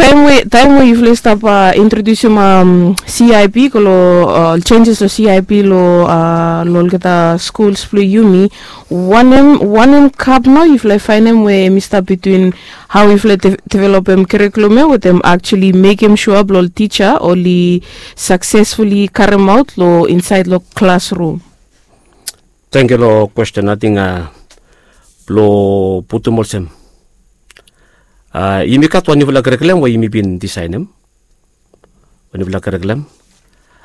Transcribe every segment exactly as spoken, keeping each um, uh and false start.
Taem we yufala i stap introdiusim cip go long ol senses long cip long olgeta skuls blong yumi, wanem kap nao yufala i faenem we hem i stap bitwin hao yufala i developem karikulum ya wetem aktuali mekem sua blong ol tija oli saksesfuli karemaot long insaed long klasrum? Tangkiu long kwesten. Ating blong putum olsem, yumi gat wan niufala karikulum we yumi bin disaenem. Wan niufala karikulum.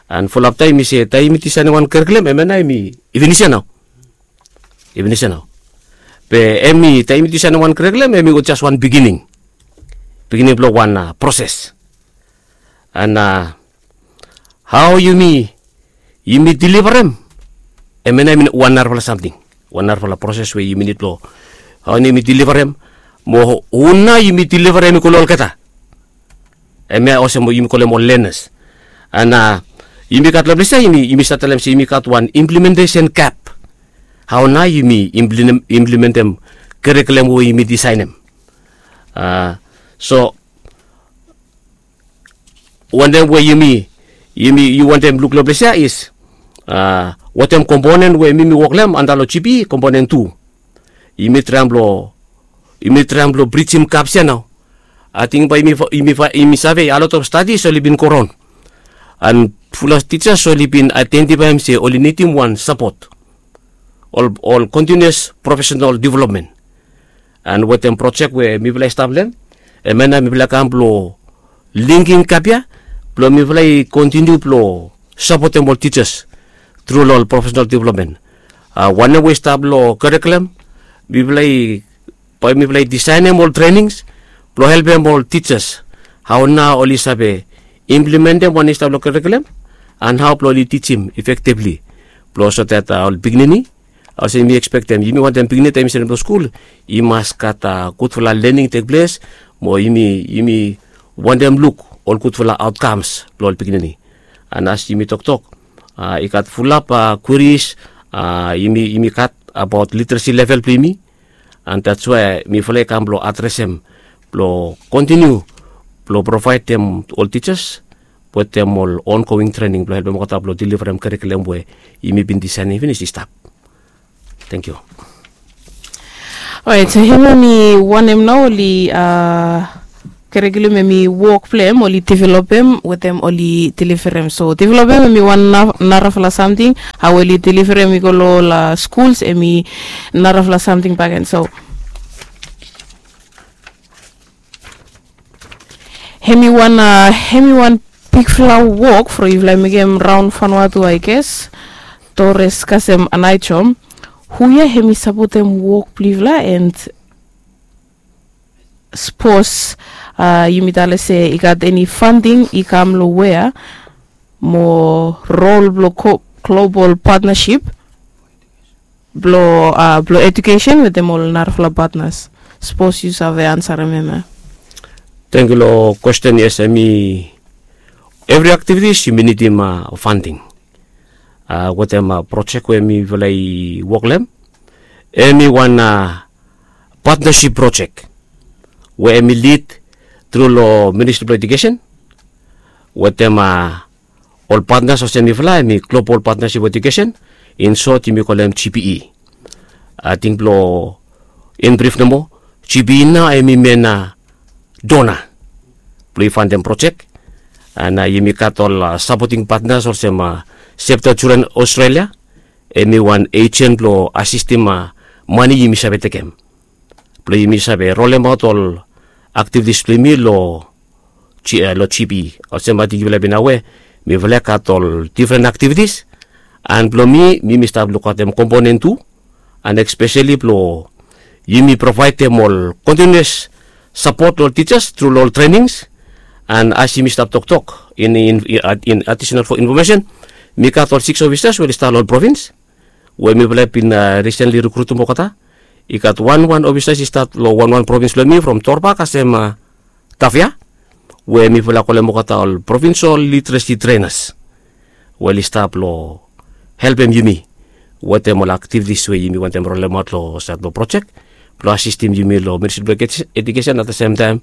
An fulap taem yumi se taem yumi disaenem wan karikulum, hemia nao yumi finis ya nao. Yumi finis ya nao. Be hemi taem yumi disaenem wan karikulum, hemi jas wan bigining, bigining blong wan proses. An hao yumi yumi dilivarem, hemia nao hemi wan narafala samting, wan narafala proses we yumi nid blong hao nao yumi dilivarem, mo hu nao yumi dilivarem i go long olgeta. Hemia olsem we yumi kolem ol lenas. An yumi gat long ples ya yumi save talem se yumi gat wan implimentesen gap. Hao nao yumi implimentem karikulum we yumi disaenem? So wantem we yumi yumi yu wantem luk long ples ya is wetem komponen we mi mi wok long hem antap long gp, komponen tu. Yumi traem blong yumi traem blong brijim gaps ya nao. Ating bae yumi save a lot of stadis oli bin goraon, an fulap tijas oli bin aedentifaem se oli nidim wan sapot, ol kontiniuas profesenal developmen. An wetem projek we mifala i stap long hem, hemia nao mifala i kam blong lingim gap ya blong mifala i kontiniu blong sapotem ol tijas tru long ol profesenal developmen. Wanem we i stap long karikulum, mifala i bae mifala i disaenem ol trenings blong helpem ol tijas hao nao oli save implimentem wanem i stap long karikulum, an hao blong oli tijim efektivli blong so dat ol pikinini, olsem yumi ekspektem, yumi wantem pikinini taem i sendem long skul i mas gat gudfala lening tekples, mo yumi wantem luk ol gudfala aotkams blong ol pikinini. An as yumi toktok, i gat fulap kweris yumi gat abaot literesi level blong yumi. An dats wae mifala i kam blong adresem blong kontiniu blong provaedem ol tijas wetem ol ongoing trening blong helpem olgeta blong dilivarem karikulum we yumi bin disaenem finis i stap. Tangkiu. Orait, so hemia mi wanem nao oli karikulum hemi wok blong hem oli developem wetem oli dilivarem. So developem hemi wan narafala samting, hao oli dilivarem i go long ol skuls hemi narafala samting bakegen. So hemi wan hemi wan bigfala wok from yufala i mekem raon fanua tu aiges. Tores kasem anaijom, hu ya hemi sapotem wok blong yufala and sapos yumi tale se i gat eni fanding i kam long wea mo rol blong global patnasip blong blong edukesen wetem ol narafala patnas? Sapos yu save ansarem hemia. Tangkiu long kwesten. Yes, hemi evri aktivitis yumi nidim fanding wetem projek we mifala i wok long hem. Hemi wan patnasip projek we hemi lid tru long ministri blong edukesen wetem ol patnas olsem mifala hemi global patnasip edukesen, in sot yumi kolem gpe. Ating blong in brif nomo, gpe nao hemi men dona blong i fandem projek. An yumi gat ol sapoting patnas olsem septa juren australia, hemi wan ejen blong asistim mane yumi save tekem blong yumi save rolemaot ol aktivitis blong yumi long gpe. Olsem ating yufala bin awe, mifala i gat ol difren aktivitis. An blong mi mi mi stap lukaotem komponen tu, an espeseli blong yumi provaedem ol kontiniuas sapot long ol tijas tru long ol trenings. An as yumi stap toktok in adisonal infomesen, mi gat ol siks ofisas we oli stap long ol provins we mifala i bin risenli rikrutim olgeta. I gat wanwan ofisas i stap long wanwan provins blong yumi from torba kasem tafia, we mifala i kolem olgeta ol provinsol literesi trenas we oli stap long helpem yumi wetem ol aktivitis we yumi wantem rolemaot long sait blong projek blong asistim yumi long ministri blong edukesen at the sem taem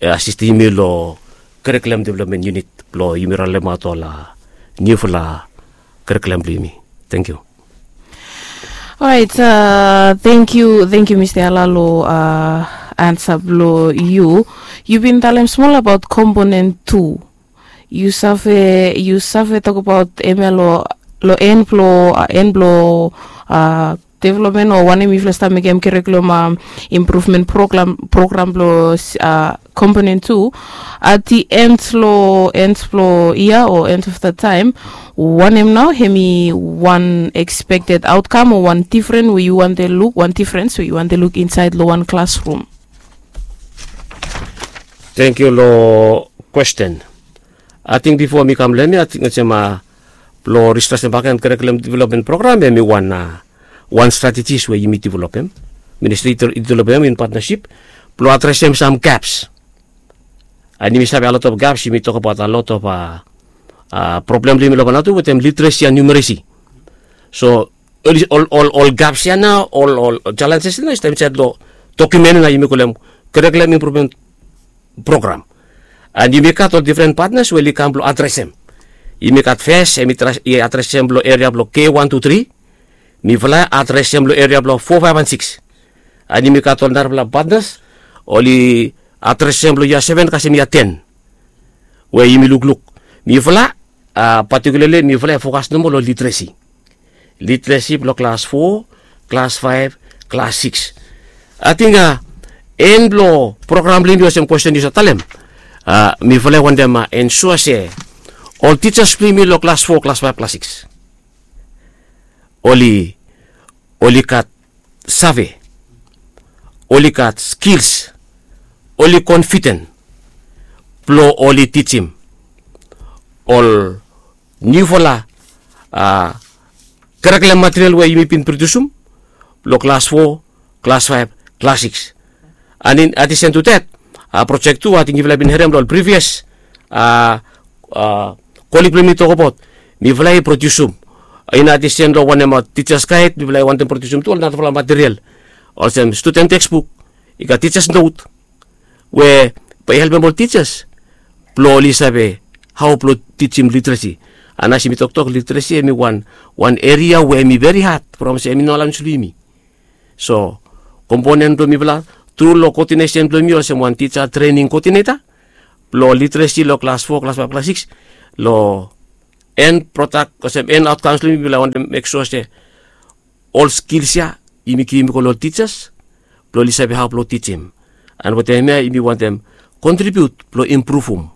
asistim yumi long curriculum development unit blong yumi rolemaot ol niufala curriculum blong yumi. Thank you. Orait, thank you, thank you Mista Yala long ansa blong yu. Yu bin talem smol abaot komponen tu. Yu save yu save tokabaot hemia long en blong en blong development o wanem yufala stap mekem curriculum improvement program program blong komponen tu. At the end long end blong yia o end of the time, wanem nao hemi wan expected outcome o wan different we yu wante luk wan difference we yu wante luk insaed long wan klasrum? Thank you long kwesten. Ating bifo mi kam long hemia ating olsem blong restructure baken curriculum development program hemi wan wan strategies we yumi developem, ministri i developem in partnership blong adresem sam gaps. And yumi save a lot of gaps yumi tokabaot a lot of problem blong yumi long vanatu wetem literacy and numeracy. So ol gaps ya nao ol ol challenges ya nao i stap insaed long dokiumen ya nao yumi kolem curriculum improvement program. And yumi gat ol different partners we oli kam blong adresem. Yumi gat fes hemi adresem long eria blong k one two three. Mifala adresem long eria blong four five and six. And yumi gat ol narafala partners oli adresem long yia seven kasem yia ten. We yumi lukluk mifala patikulali mifala i fokas nomo long literacy. Literacy blong klas fo, klas faef, klas sikis. Ating a en blong program blong yumi olsem kwesten yu save talem, mifala i wantem ensua se ol tijas blong yumi long klas fo, klas faef, klas sikis oli oli gat save, oli gat skils, oli konfiden blong oli tijim ol niufala a karaklem material we yumi bin produsim long klas fo, klas faef, klas sikis. And in adisen tu dat, a projek tu ating yufala i bin harem long ol privias a kolik blong yumi tokabaot mifala i produsim. In adisen long wanem a tijas gaed mifala i wantem produsim tu ol narafala material olsem studen teksbuk, i gat tijas not we bae i helpem ol tijas blong oli save hao blong tijim literesi. And as yumi toktok literesi hemi wan wan eria we hemi veri had from olsem hemi no alaens long yumi. So komponen blong mifala tru long koodinesen blong yumi olsem wan tija trening koodineta blong literesi long klas fo, klas faef, klas sikis, long en prodak olsem en aotkaoms blong yumi mifala i wantem mek sua se ol skils ya yumi givim i go long ol tijas blong oli save hao blong tijim. And wetem hemia yumi wantem kontribiut blong impruvum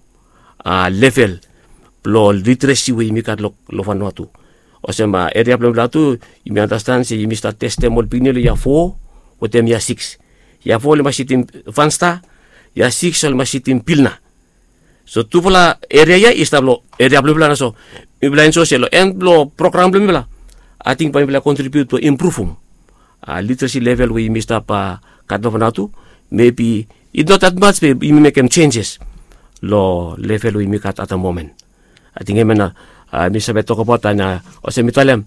level blong literesi we yumi gat long vanua tu. Olsem eria blong mifala tu yumi andastan se yumi stap testem ol pikinini long yia fo wetem yia sikis. Yia fo oli mas ridim vansta, yia sikis oli mas ridim pilna. So tufala eria ya i stap long eria blong mifala na so mifala ensua se long en blong program blong mifala ating bae mifala kontribiut blong impruvum literesi level we yumi stap gat long vanua tu. Mebi i no dat mats be yumi mekem jenjes long level we yumi gat at da momen. Ating hemia na mi save tokabaot and olsem mi talem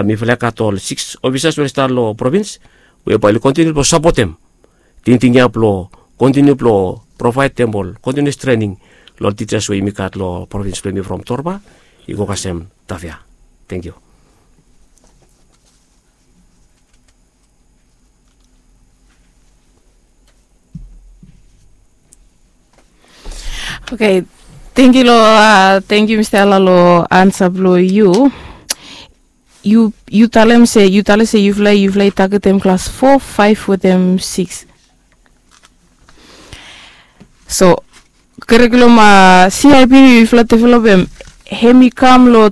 mifala i gat ol sikis ofisas we oli stap long provins we bae oli kontiniu blong sapotem tingting ya blong kontiniu blong provaedem ol kontinius trening long ol tijas we yumi gat long provins blong yumi from Torba i go kasem Tafea. Tangkiu. Oke, tangkiu long tangkiu Mista Yala long ansa blong yu. Yu yu talem se yu talem se yufala yufala i tagetem klas fo, faef wetem sikis. So karikulum a C I P we yufala developem hem i kam long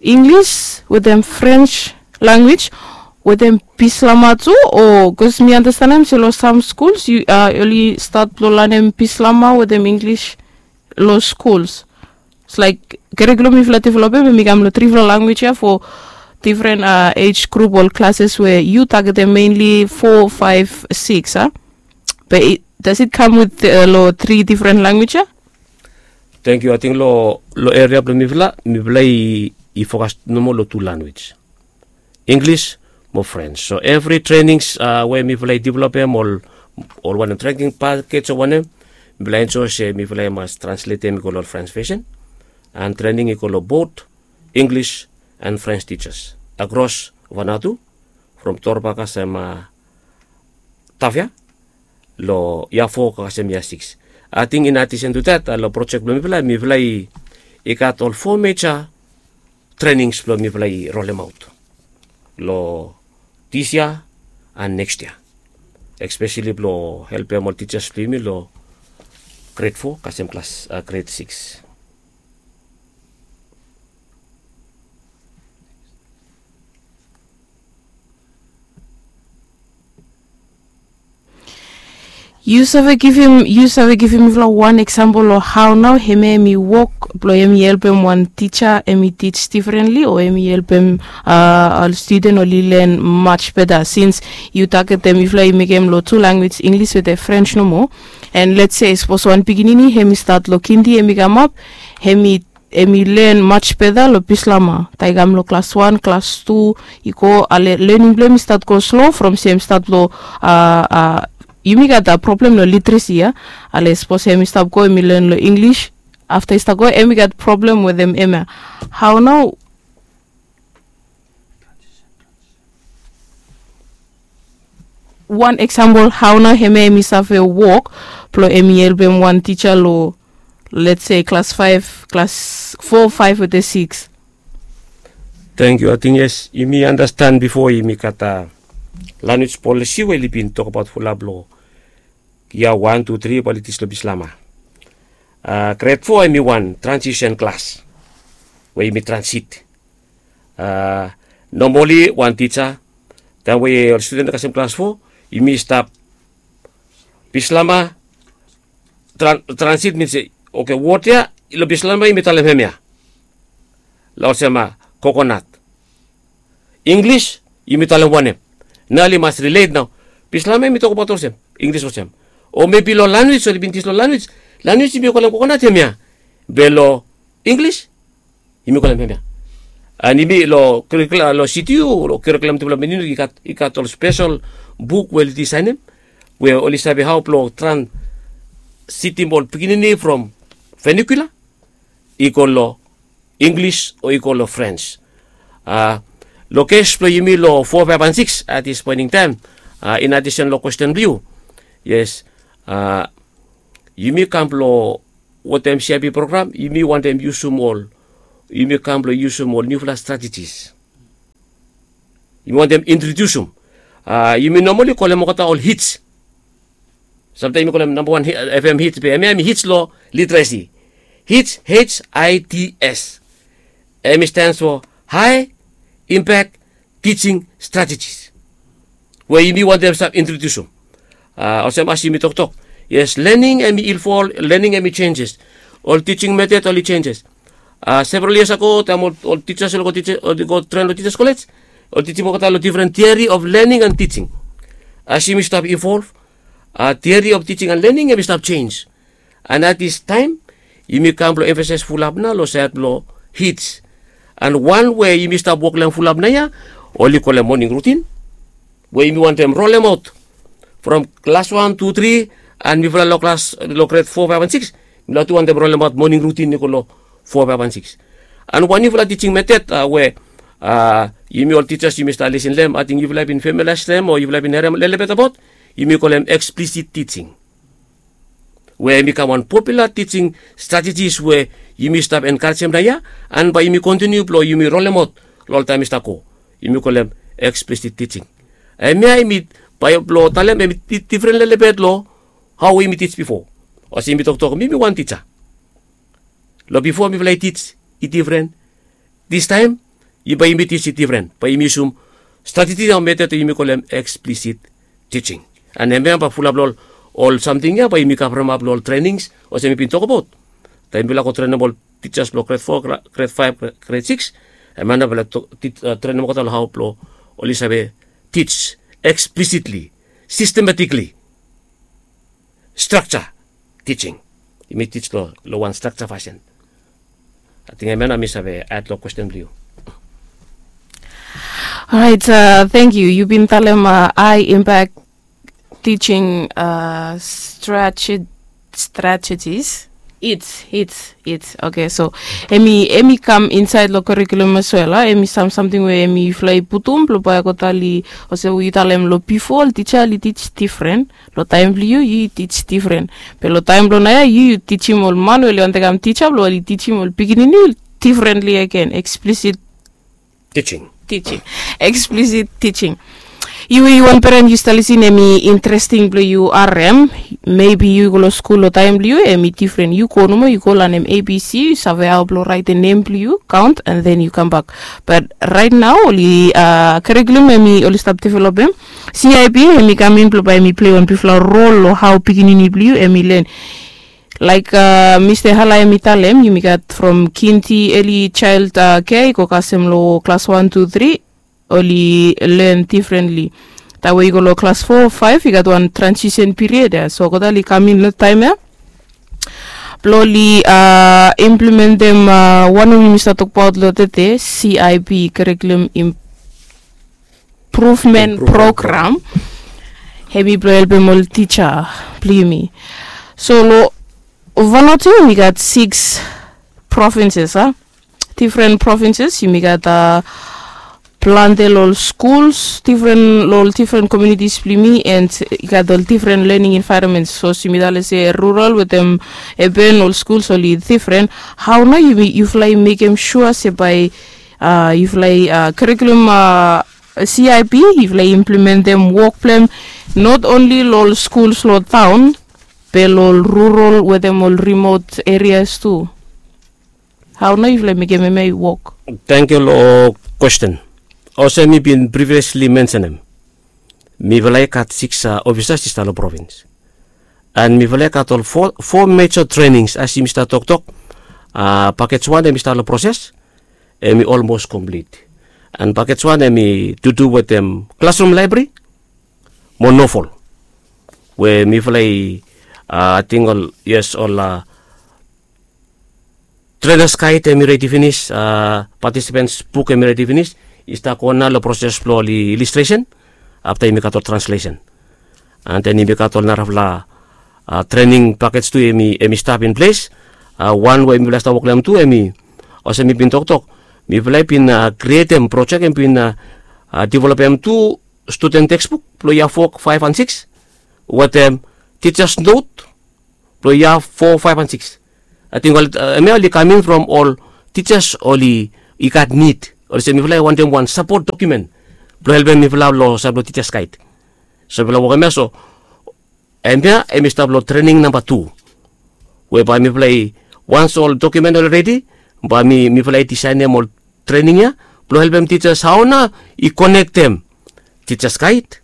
Inglis wetem Frens lanwis wetem Bislama tu? O bikos mi anastenem se long sam skuls oli stat blong lanem Bislama wetem Inglis long skuls. Laik karikulum yufala developem hem i kam long trifala lanwis ya fo difren ej grup ol klases we yu tagetem menli fo, faef, sikis a? Be das it kam wit long tri difren lanwis ya? Tangkiu. Ating long eria blong mifala mifala i fokas nomo long tu lanwis, Inglis mo Frens. So evri trenings we mifala i developem ol ol wanem trening pakej o wanem, Mifala enjoe se mifala i mas transletem i go long French version. And trening i go long both English and French teachers across Vanuatu, from Torba kasem Tafea, long yia fo kasem yia sikis. Ating in addition to that, long project blong mifala, mifala i gat ol fo major trainings blong mifala i rolemaot long this year and next year, especially blong helpem ol teachers blong yumi long grade four kasem klas grade six. Yu save givim yu save givim mifala wan example long hao nao hemia em i wok blong em i helpem wan tija em i tij difrenli o em i helpem ol studen oli len maj beta sins yu tagetem mifala i mekem long tu language English wetem French nomo. And let's say sapos wan pikinini hem i stat long kindi hem i kamap, hem i hem i len maj beta long Bislama taem i kam long klas wan, klas tu, i go ale lening blong hem i stat go slo from se hem i stat long a a yumi gat a problem long litresi ya. Ale sapos hem i stap go hem i len long English, afta i stap go hem i gat problem wetem hem ya. Hao nao wan example hao nao hemia hem i save wok blong hem i helpem wan tija long let's say klas faef, klas fo, faef wetem sikis. Tangkiu. Ating yes, yumi andastan bifo yumi gat a lanwis polisi we oli bin tokbaot fulap long yia wan, tu, tri bae oli tij long Bislama. Gred fo hem i wan transisen klas we yumi transit. Nomali wan tija taem we ol studen kasem klas fo, yumi stap Bislama, transit min se, oke, wod ya long Bislama yumi talem hemia. Long olsem kokonat. Inglis yumi talem wanem? Nao oli mas rilet nao. Bislama yumi tokbaot olsem, Inglis olsem. O mebi long lanwis oli bin tij long lanwis, lanwis yumi kolem kokonat hemia. Be long Inglis yumi kolem hemia. And yumi long kerikulum long C T U, long kerikulum development unit, i gat ol spesel buk we oli disaenem we oli save hao blong transitim ol pikinini from vernacular i go long Inglis o i go long Frens. Long kes blong yumi long fo, faef and sikis at this point in time, in addition long kwesten blong yu, yes, yumi kam blong wetem C I P program yumi wantem yusum ol, yumi kam blong yusum ol niufala strategies. Yumi wantem introdiusum. Yumi nomali kolem olgeta ol hits. Samtaem yumi kolem namba wan FM hits be hemia hem i hits long litresi. Hits, H I T S, hem i stans fo High Impact Teaching Strategies, we yumi wantem stap introdiusum. Olsem as yumi toktok, yes, lening hem i evolve, lening hem i jenjes. Ol tijing metod oli jenjes. Several years ago taem ol tijas oli go tren long tijas kolej, oli tijim olgeta long difren theory of learning and teaching. As yumi stap evolve, theory of teaching and learning hem i stap jenj. And at this time yumi kam blong emfasaes fulap nao long saed blong hits. And wan we yumi stap wok long hem fulap naoia, oli kolem moning rutin we yumi wantem rolemaot from klas wan, tu, tri, and mifala long klas long gred fo, faef and sikis, mifala tu wantem rolemaot moning rutin i go long fo, faef and sikis. And wan niufala tijing metod we yumi ol tijas yumi stap lisin long hem, ating yufala i bin femilias long hem o yufala i bin harem lelebet abaot, yumi kolem eksplisit tijing. We hem i kam wan popula tijing stratejis we yumi stap enkarejem naoia, and bae yumi kontiniu blong yumi rolemaot long ol taem i stap go. Yumi kolem eksplisit tijing. Hemia hem i, bae blong talem hem i difren lelebet long hao we yumi tij bifo. Olsem yumi toktok mi mi wan tija. Long bifo mifala i tij i difren. Distaem bae yumi tij i difren, bae yumi yusum strateji o metod we yumi kolem eksplisit tijing. And hemia bae fulap long ol samting ya bae yumi kavremap long ol trenings olsem mi bin tokbaot. Taem mifala go trenem ol tijas blong gred fo, gred faef, gred sikis, hemia nao mifala trenem olgeta long hao blong oli save tij eksplisitli, sistematikli, strakja tijing. Yumi tij long wan strakja fasin. Ating hemia nao mi save aed long kwesten blong yu. Orait, tangkiu. Yu bin talem high impact teaching strategies. strategies. It's it's it's okay, so emi emi kam insaed long curriculum as well a emi sam samting we emi yufala i putum blong bae go tali olsem we yu talem long bifo ol tija oli tij difren. Long taem blong yu yu tij difren, be long taem blong naoia yu yu tijim ol man we oli wantaem kam tija blong oli tijim ol pikinini difrenli agen. Eksplisit tijing. Tijing. Eksplisit tijing. Yu we yu wan peren yu stap lisin emi interesting blong yu harem. Mebi yu go long skul long taem blong yu emi difren yu go nomo yu go lanem abc yu save hao blong raetem nem blong yu kaont and then yu kambak. Bat raet nao oli karikulum emi oli stap developem cip emi kam in blong bae emi plei wan bigfala rol long hao pikinini blong yu emi len. Laek mista hala emi talem yumi gat from kinti eli jael kea i go kasem long klas wan tu tri oli len difrenli. Taem we i go long klas fo faef i gat wan transisen piriod ya so gotali kam in long taem ya blong oli implementem wan we yumi stap tokbaot long tete cip karikulum improvement program. Hemi blong helpem ol tija blong yumi. So long vanatu yumi gat siks provinses a difren provinses yumi gat a plante long ol skuls difren long ol difren komunitis blong yumi and i gat ol difren lening envaeronments sos yumi tale se rural wetem eben ol skuls oli difren. Hao nao yufala i mekem sua se bae yufala i karikulum cip yufala i implementem wok blong hem not onli long ol skuls long taon be long ol rural wetem ol rimot erias tu. Hao nao yufala i mekem hemia i wok? Tangkiu long kwesten. Olsem mi bin priviesli mensenem, mifala i gat siks ofisas i stap long provins. And mifala i gat ol fo meja trenings as yumi stap toktok. Pakej wan hemi stap long proses, hemi olmos komplit. And pakej wan hemi tutu wetem klasrum laebri mo nofol we mifala i ating ol yes ol trenas gaed hemi redi finis, patisipens buk hemi redi finis. I stap go nao long proses blong ol ilistresen afta yumi gat ol translesen. And then yumi gat ol narafala trening pakej tu hemi stap in ples. Wan we mifala i stap wok long hem tu hemi olsem mi bin toktok, mifala i bin krietem projek hemi bin developem tu studen teksbuk blong yia fo faef and siks wetem tijas not blong yia fo faef and siks. Ating ol hemia oli kam in from ol tijas oli i gat nid olsem mifala i wantem wan sapot dokumen blong helpem mifala long sait blong tijas gaed. So mifala wok hemia so hemia hemi stap long trening namba tu we bae mifala i wans ol dokumen oli redi bae mifala i disaenem ol trening ya blong helpem tijas hao nao i konektem tijas gaed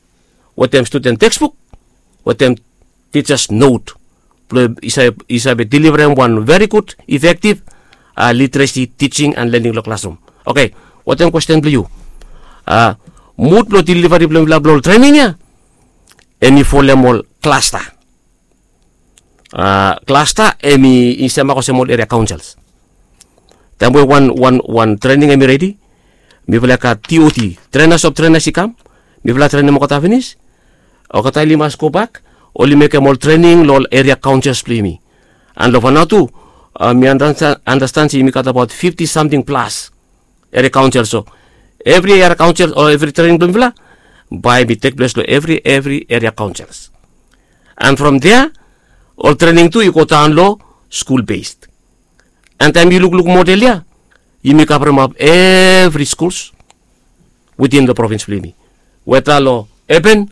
wetem studen teksbuk wetem tijas not blong i save deliverem wan veri gud efektiv literesi tijing and lening long klasrum. Oke, wetem kwesten blong yu, mud blong delivari blong mifala blong ol trening ya hemi folem ol klasta. Klasta hemi i semak olsem ol eria kaonsels. Taem we wan wan wan trening hemi redi mifala i gat tot trenas of trenas i kam, mifala trenem olgeta finis, olgeta oli mas gobak oli mekem ol trening long ol eria kaonsels blong yumi. And long fanao tu mi andastan se yumi gat abaot fifti samting plas eria kaonsel. So evri eria kaonsel o evri trening blong mifala bae hemi tekples long evri evri eria kaonsels. And from dea ol trening tu i godaon long skul bes. And taem yu lukluk model ya yumi kavremap evri skuls witin long provins blong yumi, weta long eben,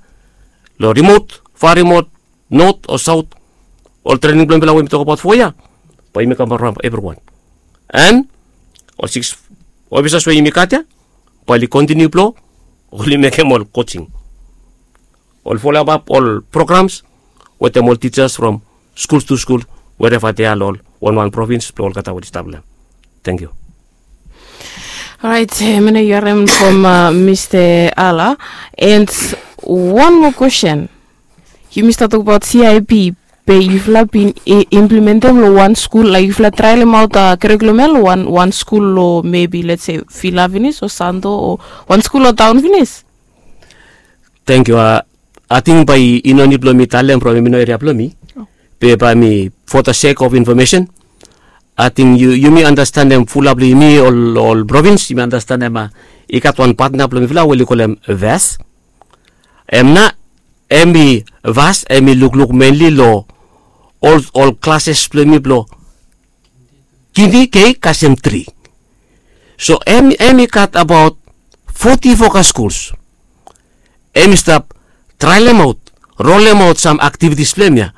long rimot, farimot, not o saot, ol trening blong mifala we mi tokbaot fo ya bae yumi kavremap evriwan. And ol siks ofisas we yumi gat ya bae oli kontiniu blong oli mekem ol kojing, ol folem ap ol programs wetem ol tijas from skul tu skul wereva dea long ol wanwan provins blong olgeta we oli stap long hem. Tangkiu. Orait, mena yu harem from mista Ala. And wan moa kwesten. Yumi stap tokbaot cip be yufala bin implementem long wan skul laek yufala traelemaot karikulum ya long wan skul long mebi let's se Vila finis o Santo o wan skul long taon finis? Tangkiu. Ating bae i no nid blong mi talem from hemi no eria blong mi. Be bae mi, for the sake of information, ating yumi anastenem fulap long yumi ol provins, yumi anastenem i gat wan patna blong mifala we oli kolem vas. Em nao, em i vas em i lukluk menli long ol klases blong yumi blong kindi kei kasem tri. So em i gat abaot foti fokas skuls. Em i stap traelemaot, rolemaot sam aktivitis blong em ya,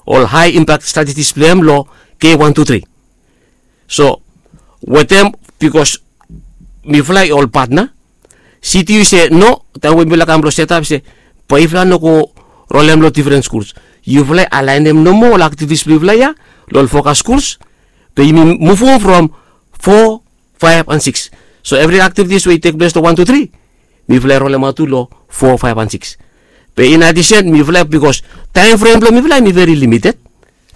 ol hae impak stratetis blong em long kei wan tu tri. So wetem, bikos mifala i ol patna, siti i se no, taem we mifala kam blong setap i se bae yufala no go rolem long difren skuls. Yufala i alaenem nomo ol aktivitis blong yufala ya long ol fokas skuls, be yumi muvum from fo, faef an sikis. So evri aktivitis we i tekples long wan tu tri, mifala i rolemaot tu long fo, faef an sikis. Be in adisen mifala, bikos taem frem blong mifala em i veri limited,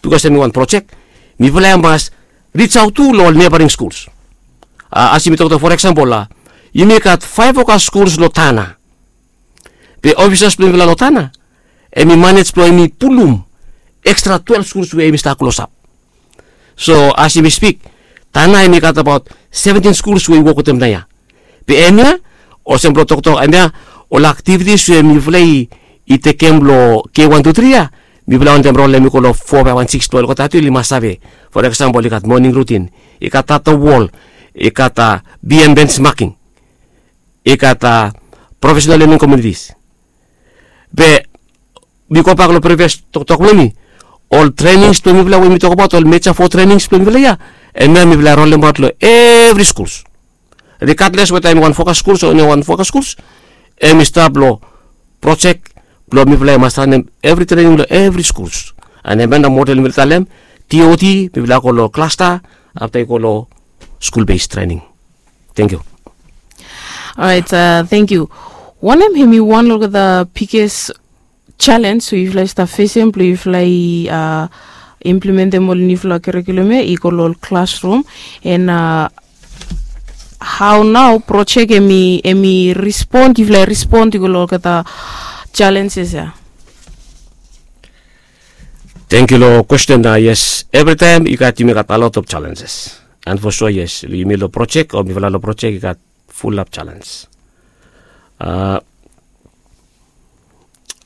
bikos em i wan projek, mifala i mas risaot tu long ol nebaring skuls. As yumi toktok, for eksempel, yumi gat faef fokas skuls long Tanna. Be ofisas blong mifala long Tanna em i manej blong em i pulum ekstra twelef skuls we em i stap klosap. So as yumi spik, Tanna em i gat abaot seventin skuls we i wok wetem naoia. Be em ya, olsem blong toktok, em ya, ol aktivitis we mifala i tekem long kei wan tu tri ya, mifala wantem rolem i go long fo, faef an sikis blong olgeta tu oli mas save. For eksempel, i gat moning rutin, i gat ata wol, i gat a biem bens making, i gat a profesenal lening komunitis. Be mi gobak long privias toktok blong mi, ol trenings blong mifala we mi tokbaot, ol meja fo trenings blong mifala ya, em ya mifala rolemaot long evri skuls. Rigadles weta em i wan fokas skuls o no wan fokas skuls, em i stap long projek blong mifala i mas ranem evri trening long evri skuls. An em ya na model mifala talem, T O T, mifala go long klasta, afta i go long skul bes trening. Tengkiu. Orait, tengkiu. Wanem hem i wan long olgeta biges jalens we yufala i stap fesem blong yufala i implementem ol niufala karikulum ya i go long ol klasrum, and hao nao projek hem i, hem i respond, yufala i respond i go long olgeta jalenses ya? Tengkiu long kwesten. Yes, evritaem i gat, yumi gat a lot of jalenses. And for sure, yes, yumi long projek o mifala long projek i gat fulap jalens.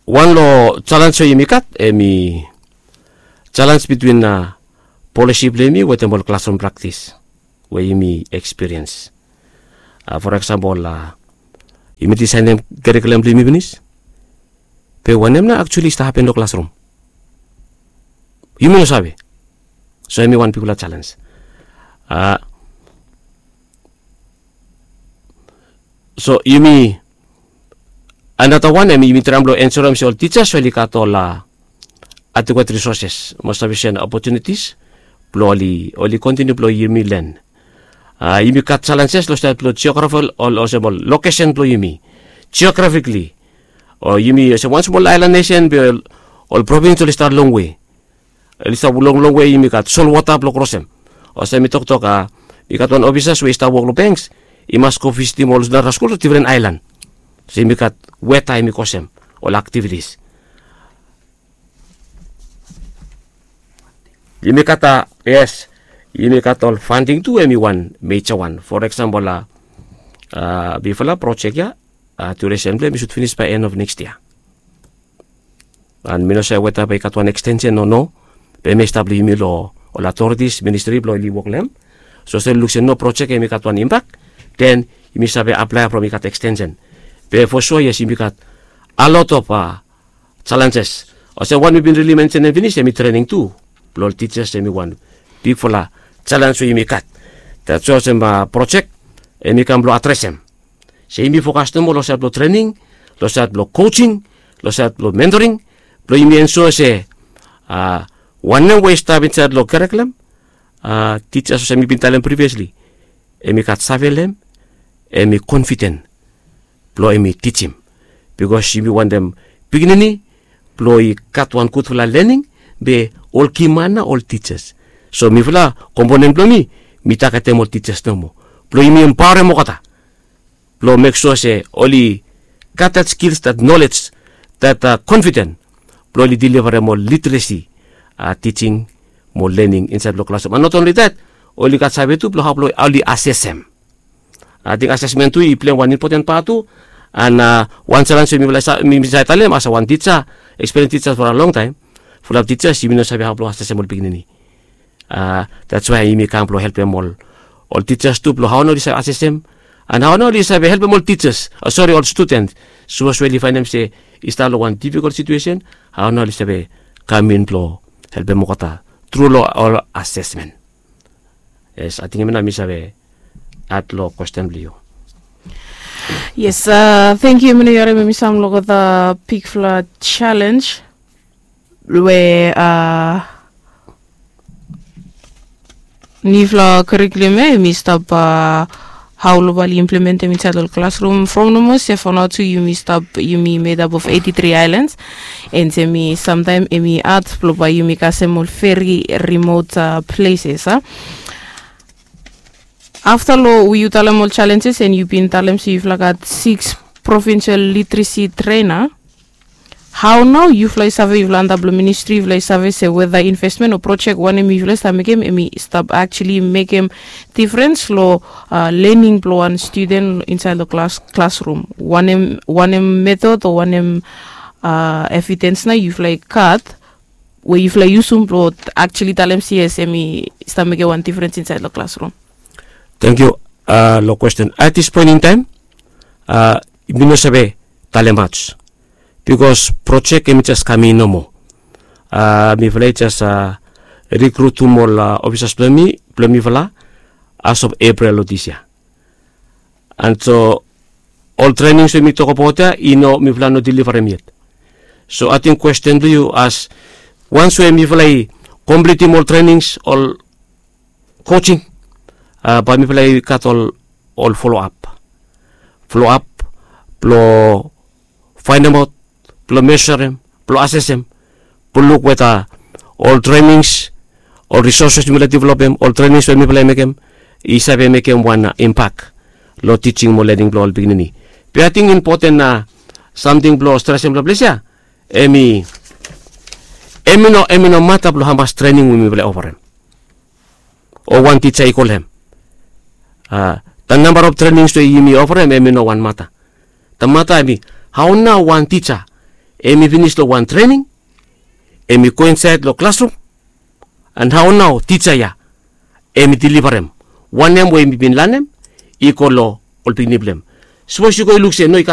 Wan long jalens we yumi gat, hem i jalens bitwin polisi blong yumi wetem ol klasrum praktis we yumi ekspiriens. For eksempel, yumi disaenem karikulum blong yumi finis, be wanem nao aktuali i stap hapen long klasrum? Yumi no save. So hem i wan bigfala jalens. So yumi, anata wan hem i yumi traem blong ensurem se ol tijas oli gat ol adekwet risoses mo safisen opotunitis blong oli, oli kontiniu blong yumi len. Yumi gat jalenses long saed blong jeografel, olsem ol lokesen blong yumi jeografikli. O yumi olsem wan smol aelan nesen, be ol provins oli stap longwe. Oli stap long longwe, yumi gat solwota blong krosem. Olsem mi toktok, a, mi gat wan ofisas we i stap wok long bengs, i mas go visitim ol nara skul long difren aelan. So yumi gat weta hem i kosem ol aktivitis. Yumi gat a, yes, yumi gat ol fanding tu, hem i wan meja wan. For eksempel, a, bifala projek ya, a, duresen blong hem i sud finis bae en of nekst yia. An mi no save weta bae i gat wan ekstensen o no, be hem i stap long yumi long ol aotoritis, ministri blong oli wok long hem. So olsem luk se no projek hem i gat wan impak, den yumi save aplae from i gat ekstensen. Be for sua yes, yumi gat a lot of, a, jalenjes. Olsem wan mi bin rili mensenem finis, hem i trening tu blong ol tijas, hem i wan bigfala jalens we yumi gat. That's why olsem, a, projek hem i kam blong adresem. Se yumi fokas nomo long saed blong trening, long saed blong kojing, long saed blong mentoring, blong yumi ensua se, a, wanem we i stap insaed long karikulum, a, tijas olsem mi bin talem priviasli, hem i gat save long hem, hem i konfiden blong hem i tijim. Bikos yumi wantem pikinini blong i gat wan gudfala lening, be ol kiman nao ol tijas. So mifala, komponen blong mi, mi tagetem ol tijas nomo blong yumi empaorem olgeta, blong mek sua se oli gat that skills, that knowledge, that, a, confident blong oli deliverem ol literesi, tijing mo lening insaed blong klasrum. And not only that, oli gat save tu blong hao blong oli asesem. Ating asesmen tu i pleim wan impoten pat tu. And wan selens we mi save talem as wan tija, eksperiens tija for a long taem, fulap tijas yumi no save hao blong asesem ol pikinini. That's why yumi kam blong helpem ol ol tijas tu blong hao nao oli save asesem, and hao nao oli save helpem ol tijas, sori, ol studen, sapos we oli faenem se i stap long wan difikol situesen, hao nao oli save kam in blong helpem olgeta tru long ol asesmen. Yes, ating hemia nao mi save ad long kwesten blong yu. Yes, tangkiu. Yumi no yare mi sam long olgeta bigfala jalenj we nifala kurikulum ya yumi stap hao long bae oli implementem insaed long klasrum from nomo se fo nao tu yumi stap, yumi medap of eighty three aelans. And yumi samtaem yumi ad blong bae yumi kasem ol veri rimot pleses a. Afta long we yu talem ol jalenjes and yu bin talem se yufala gat siks provinsel literesi trena. Hao nao yufala i save, yufala antap long ministri, yufala i save se weda investmen o projek wanem yufala i stap mekem, hemi stap aktuali mekem difrens long lening blong wan studen insaed long klasrum? Wanem wanem metod o wanem evidens nao yufala i gat we yufala i yusum blong aktuali talem se yes, hemi stap mekem wan difrens insaed long klasrum? Tangkiu. Long kwesten, at this point in time mi no save talem maj, bikos projek hemi jes kam in nomo. Mifala i jes rikrutum ol ofisas blong mi, blong mifala, as of Eprel long dis yia. And so ol trenings we mi tokbaot ya i no, mifala no delivarem yet. So ating kwesten blong yu as, wans we mifala i komplitim ol trenings, ol kojing, bae mifala i gat ol ol foloap, foloap blong faenemaot, blong mesorem, blong asesem, blong luk weda ol trenings, ol risoses mifala i developem, ol trenings we mifala i mekem, i save mekem wan impak long tijing mo lening blong ol pikinini. Be ating impoten samting blong stresem long ples ya, hemi hemi no hemi no mata blong hamas trening we mifala i oferem o wan tija i kolem. The number of trenings we yumi oferem hemi no wan mata. The mata hemi hao nao wan tija hemi finis long wan trening, hemi go insaed long klasrum, and hao nao tija ya hemi delivarem wanem we hemi bin lanem i go long ol pikinini blong hem. Sapos yu go i luk se no, i